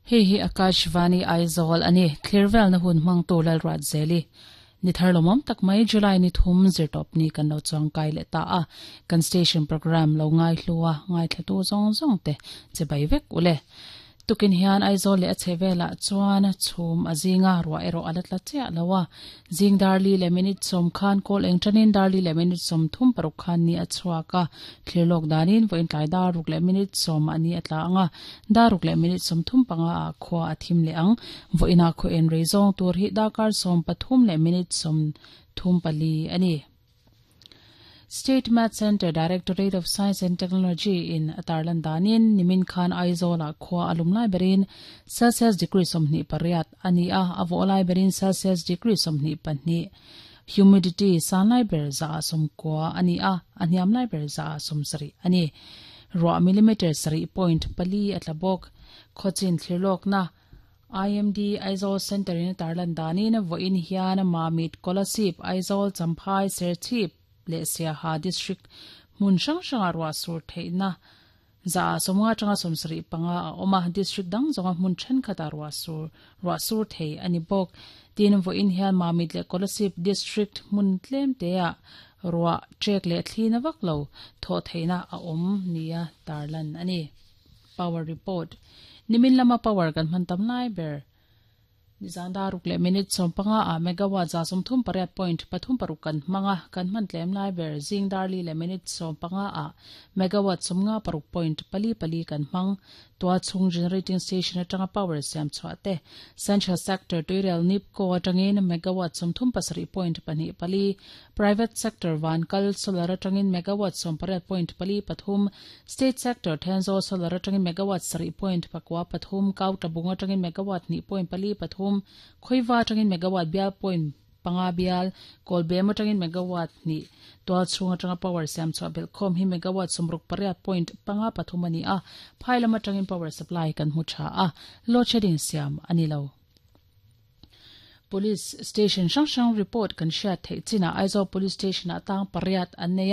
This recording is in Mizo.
Hei hi Akashvani Aizawl a ni. Thlirvelna hun hmangtu Lalruatzeli ni thar lawmawm tak mai July ni thum zirtawp ni kan lo chuang kai leh ta a. Kan station programme lo ngaihlu a, ngaithlatu zawng zawng te che bai vek ule. Tukin hian Aizawl leh a chhe velah chuan chhum a zing a, ruah erawh a la tla chiah lo a. Zing dar li leh minute sawm khan kawl eng tanin dar li leh minute 36 khan ni a chhuak a. Thlir lawk danin vawiin tlai dar ruk leh minute sawm a ni a tla ang a, dar ruk leh minute 35 ah khua a thim leh ang. Vawiinah khaw en rei zawng tur hi darkar 13 leh minute 34 a ni. State Math Centre Directorate of Science and Technology in a tarlan danin nimin khan Aizawl-ah khua a lum lai berin Celsius degree 28 a ni a, a vawh lai berin Celsius degree 22. Humidity san lai ber 90% a ni a, a hniam lai ber 70% a ni. Ruah millimetre 7.4 a tla bawk. Khawchin thlirlawkna IMD Aizawl Centre in a tarlan danin vawiin hian Mamit, Kolasib, Aizawl, Champhai, Serchhip leh Siaha District hmun hrang hrangah ruah sur theihna 50% atanga 75 a awm a, District dang zawnga hmun thenkhatah ruah sur ruah sur thei a ni bawk. Tin, vawiin hian Mamit leh Kolasib District hmun tlem teah ruah trek leh thli na vak lo thawh theihna a awm nia tarlan a ni. Power Report, Nimin lama power kan hman tam lai ber. Nizan dar ruk leh minute 15 ah megawatt 38.36 kan hmang a, kan hman tlem lai ber zing dar li leh minute 15 ah megawatt 56.44 kan hmang. Tualchhung generating station atanga power siam chhuah te Central Sector tuirel NEEPCO atangin megawatt 37.24, Private Sector Vankal Solar atangin megawatt 18.43, State Sector Thenzawl Solar atangin megawatt 7.93, Kautabung atangin megawatt 2.43, Khawiva atangin megawatt bial point panga bial, Kawlbem atangin megawatt hnih, Tualchhung atanga power siam chhuah belhkhawm hi megawatt 68.53 a ni a, phai lam atangin power supply kan hmu tha a, load shedding siam a ni lo. Police Station hrang hrang report kan hriat theih chinah Aizawl Police Station-ah tang pariat an nei a.